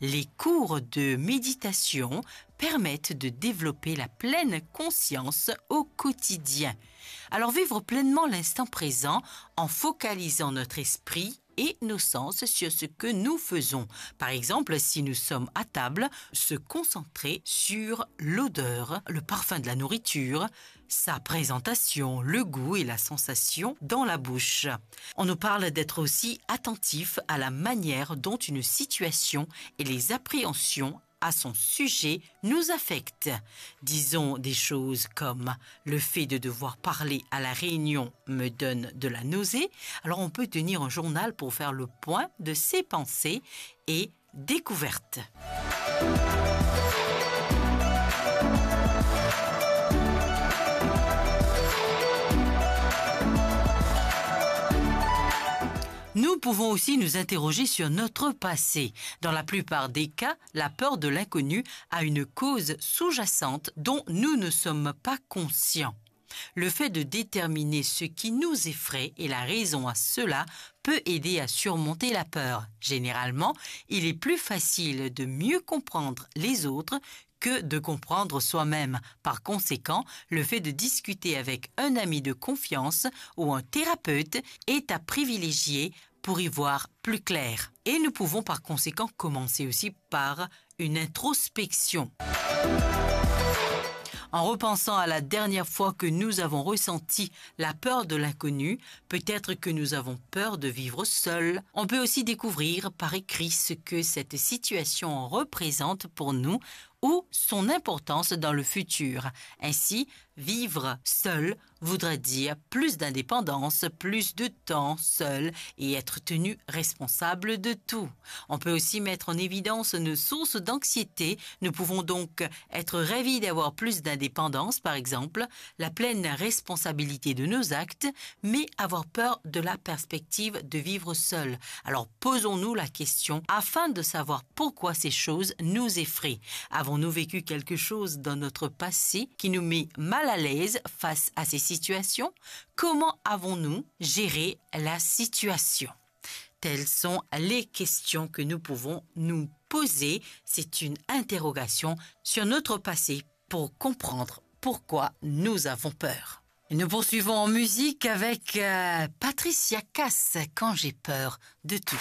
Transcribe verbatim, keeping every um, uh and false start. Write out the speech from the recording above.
Les cours de méditation permettent de développer la pleine conscience au quotidien. Alors vivre pleinement l'instant présent en focalisant notre esprit et nos sens sur ce que nous faisons. Par exemple, si nous sommes à table, se concentrer sur l'odeur, le parfum de la nourriture, sa présentation, le goût et la sensation dans la bouche. On nous parle d'être aussi attentif à la manière dont une situation et les appréhensions à son sujet nous affectent. Disons des choses comme: « Le fait de devoir parler à la réunion me donne de la nausée. » Alors on peut tenir un journal pour faire le point de ses pensées et découvertes. Nous pouvons aussi nous interroger sur notre passé. Dans la plupart des cas, la peur de l'inconnu a une cause sous-jacente dont nous ne sommes pas conscients. Le fait de déterminer ce qui nous effraie et la raison à cela peut aider à surmonter la peur. Généralement, il est plus facile de mieux comprendre les autres que de comprendre soi-même. Par conséquent, le fait de discuter avec un ami de confiance ou un thérapeute est à privilégier pour y voir plus clair. Et nous pouvons par conséquent commencer aussi par une introspection. En repensant à la dernière fois que nous avons ressenti la peur de l'inconnu, peut-être que nous avons peur de vivre seul. On peut aussi découvrir par écrit ce que cette situation représente pour nous ou son importance dans le futur. Ainsi, vivre seul voudrait dire plus d'indépendance, plus de temps seul et être tenu responsable de tout. On peut aussi mettre en évidence nos sources d'anxiété. Nous pouvons donc être ravis d'avoir plus d'indépendance, par exemple, la pleine responsabilité de nos actes, mais avoir peur de la perspective de vivre seul. Alors posons-nous la question afin de savoir pourquoi ces choses nous effraient. Avons-nous vécu quelque chose dans notre passé qui nous met mal à l'aise face à ces situations ? Comment avons-nous géré la situation ? Telles sont les questions que nous pouvons nous poser. C'est une interrogation sur notre passé pour comprendre pourquoi nous avons peur. Nous poursuivons en musique avec, euh, Patricia Cass, Quand j'ai peur de tout.